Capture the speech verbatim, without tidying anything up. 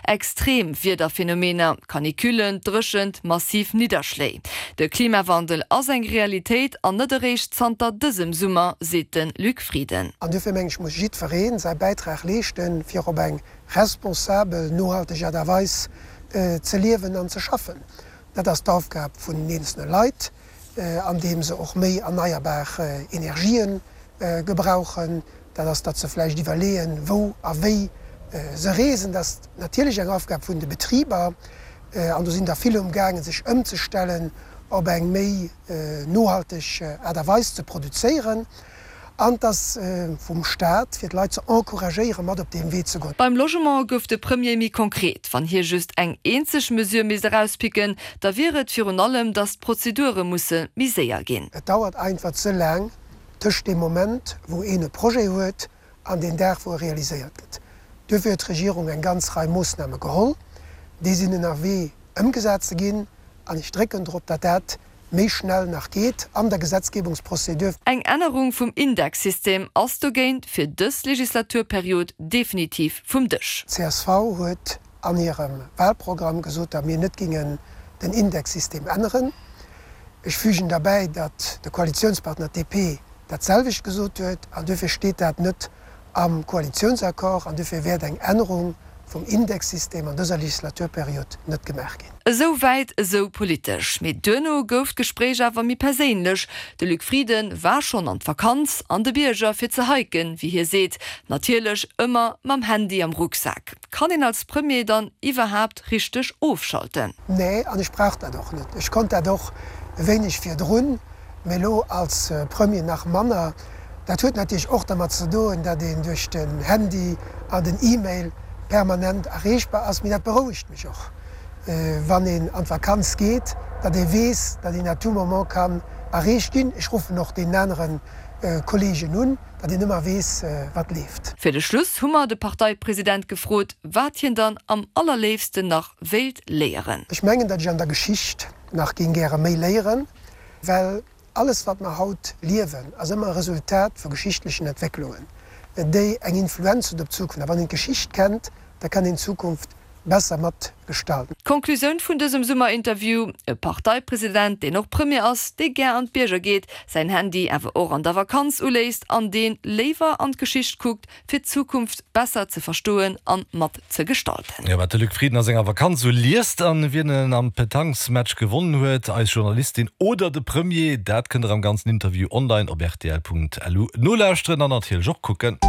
Extrem Wiederphenomener, Canicullen, Dréchent, massiv Nidderschléi. De Klimawandel ass eng Realitéit an net eréischt zanter dësem Summer, seet de Luc Frieden. An duerfir mengen ech muss jiddweree säi Bäitrag leeschten, fir op eng responsabel, nohalteg Aart a Weis ze liewen an ze schaffen. Dat ass d'Aufgab vun den eenzelne Leit, andeem se och méi erneierbar Energien gebrauchen. Dat ass, datt se vläicht iwwerleeën, wou a wéi se reesen. Dat ass natierlech eng Aufgab vun de Betriber, an do sinn der vill umgaangen, sech ëmzestellen op eng méi nohalteg Aart a Weis ze produzéieren. An et ass vum Staat, fir d'Leit ze encouragéieren, mat op deem Wee ze goen. Beim Logement gouf de Premier méi konkret. Wann hie just eng eenzeg Mesure misst erauspicken, da wier et virun allem, datt d'Prozedure musse méi séier ginn. Et dauert einfach ze laang tëscht deem Moment, wou een e Projet huet, an deen Dag, wou e realiséiert gëtt. Duerfir huet d'Regierung eng ganz Rei Moossname geholl. Déi sinn ënnerwee ëmgesat ze ginn. An ech drécken drop, datt dat méi schnell nach geet an der Gesetzgebungsprozedur. Eng Ännerung vum Indexsystem ass dogéint fir dës Legislaturperiod definitiv vum Dësch. Csv huet an hirem Wahlprogramm gesot, datt mir net gingen den Indexsystem änneren. Ech fügen derbäi, datt de Koalitionspartner D P dat selwecht gesot huet, an duerfir steet dat net am Koalitionsaccord an duerfir wäert eng Ännerung vum Indexsystem an dëser Legislaturperiod net gemaach ginn. Esou wäit esou politesch. Mee duerno gouf d'Gespréich awer méi perséinlech. De Luc Frieden war schonn an d'Vakanz an de Bierger fir ze hiken, wéi hie seet. Natierlech ëmmer mam Handy am Rucksak. Kann een als Premier dann iwwerhaapt richteg ofschalten? Nee, an ech brauch dat och net. Ech konnt dat och e wéineg virdrun, mee elo als Premier nach manner. Dat huet natierlech och dermat ze doen, datt een duerch den Handy an den E-Mail permanent erreechbar ass. Mee dat berouegt mech och, wann een an d'Vakanz geet, datt ee weess, datt een à tout moment kann erreecht ginn. Ech ruffen och deenen anere Kolleegen un, datt een ëmmer weess, wat leeft. Fir de Schluss hu mer de Parteipresident gefrot, wat hien dann am allerléifsten nach wéilt léieren. Ech mengen, datt ech an der Geschicht nach géing gäre méi léieren, well alles, wat mer haut liewen, ass ëmmer e Resultat vu geschichtlechen Entwécklungen, déi eng Influenz hunn op d'Zukunft. A wann een d'Geschicht kennt, da kann een d'Zukunft besser mat gestalten. D'Konklusioun vun dësem Summerinterview, E Parteipresident, deen och Premier ass, dee gär an d'Bierger geet, säin Handy awer och an der Vakanz uléisst an dee léiwer an d'Geschicht kuckt, fir d'Zukunft besser ze verstoen an mat ze gestalten. Jo, wat de Luc Frieden a senger Vakanz sou liest an wien en am Petanquesmatch gewonnen huet, eis Journalistin oder de Premier, dat kënnt der am ganzen Interview online op rtl Punkt lu nolauschteren an natierlech och kucken.